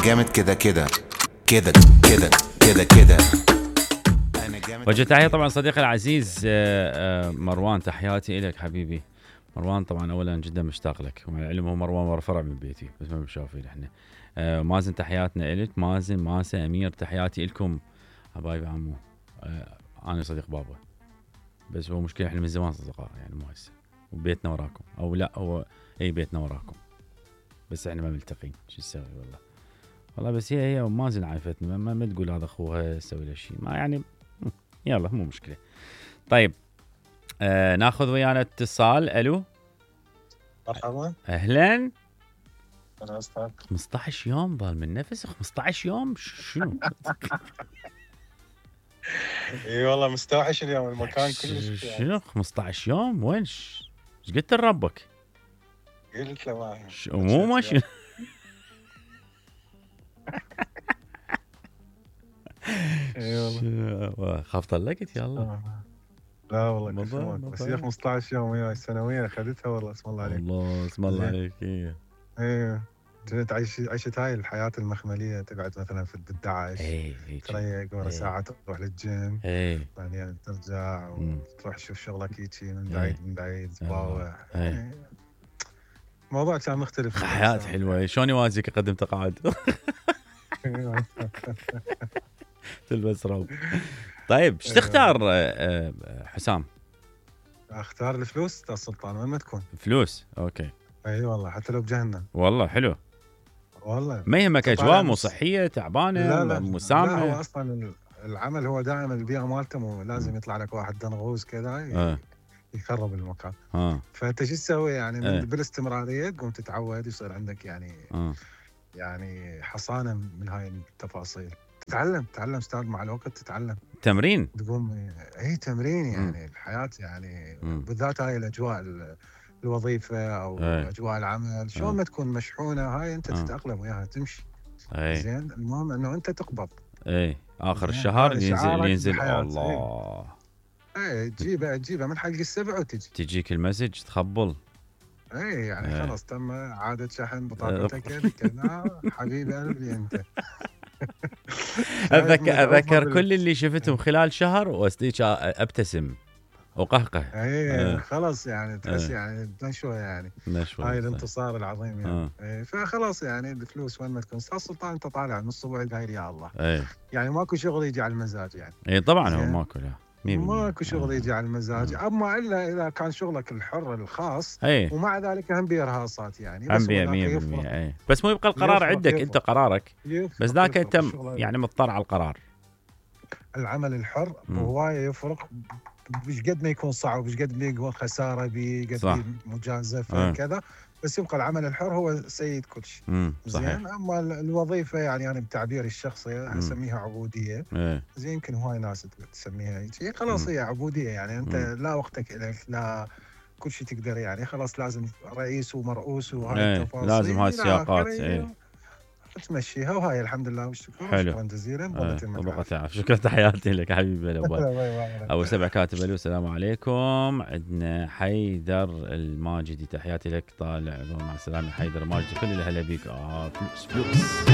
انا جامد كده كده كده كده كده كده. وجه تحية طبعا صديقي العزيز مروان، تحياتي إليك حبيبي مروان. طبعا اولا جدا مشتاق لك، ومع العلم هو مروان فرع من بيتي بس ما بشوفين احنا. مازن تحياتنا إلك، مازن ماسة امير تحياتي لكم حبايبي عمو. انا صديق بابا بس هو مشكلة احنا من زمان اصدقاء يعني مو هسه، وبيتنا وراكم او لا هو اي بيتنا وراكم بس احنا ما ملتقين. شو نسوي والله بس هي مازن عايفتني ما تقول هذا اخوها سوي له شيء ما يعني يلا مو مشكلة. طيب ناخذ ويانا اتصال. الو مرحبا اهلا. انا استاذ 15 يوم بال من نفس 15 يوم شنو؟ اي والله مستوحش اليوم المكان كلش شنو 15 يوم وين ايش قلت لربك؟ قلت له ما مو ماشي اي والله خاف طلقت يلا. لا والله كسمك بس هي 15 يوم وياي سنويا اخذتها والله اسم الله عليك. الله اسم الله عليك. ايه كنت عيشت هاي الحياة المخملية، تقعد مثلا في الدعاش تريق ورا ساعة تروح للجيم بعدين ترجع وتروح تشوف شغلك هيجي من بعيد تباوع. الموضوع كان مختلف. حياة حلوة. شلون يوازيك اقدم تقاعد؟ تلبس روب. طيب ايش تختار حسام؟ اختار الفلوس استاذ سلطان. وين ما تكون فلوس. اوكي اي والله حتى لو بجهنم. والله حلو والله ما يهمك اجواء مو صحيه تعبانه مسامحه. لا هو اصلا العمل هو دائما البيئه مالته لازم يطلع لك واحد دنغوز كذا يخرب المكان. فانت شو تسوي يعني بالاستمراريه تقوم تتعود يصير عندك يعني يعني حصانه من هاي التفاصيل. تتعلم استاذ مع الوقت تتعلم تمرين تقوم تمرين يعني الحياه يعني بالذات هاي الاجواء الوظيفه او اجواء العمل شلون ما تكون مشحونه هاي انت تتاقلم وياها تمشي. زين المهم انه انت تقبض اخر الشهر ينزل الله تجيبها من حلق السبع تجيك المسج تخبل. يعني خلاص تم عادة شحن بطاقتك كذا حبيبي قلبي انت. اذكر كل اللي شفتهم خلال شهر واستيك ابتسم وقهقه. خلاص يعني تحس يعني نشوه يعني هاي الانتصار العظيم يعني. فخلاص يعني الفلوس وين ما تكون استاذ سلطان انت طالع نص بعد هاي يا الله. يعني ماكو شغل يجي على المزاج يعني. طبعا هو ماكو لا ماكو شغل يجي على المزاج اما الا اذا كان شغلك الحر الخاص ومع ذلك هم بيرهاصات يعني بس 100% بس مو يبقى القرار عندك انت قرارك بس ذاك انت يعني مضطر على القرار. العمل الحر هوايه يفرق مش قد ما يكون صعب مش قد ما يكون خساره قد مجازفه كذا بس يبقى العمل الحر هو سيد كل شيء. زين اما الوظيفه يعني انا بتعبيري الشخصي اسميها عبوديه. زين يمكن هواي ناس تسميها هيك خلاص هي عبوديه يعني انت لا وقتك لك لا كل شيء تقدر يعني خلاص لازم رئيس ومرؤوس وهاي التفاصيل لازم هاي السياقات تمشيها وهاي الحمد لله والشكر. شكرا جزيلا ضبطت شكرا تحياتي لك حبيبي ابو سبع كاتب الو السلام عليكم. عندنا حيدر الماجدي تحياتي لك طالع مع السلامه حيدر ماجدي كل اللي هلا بيك. فلوس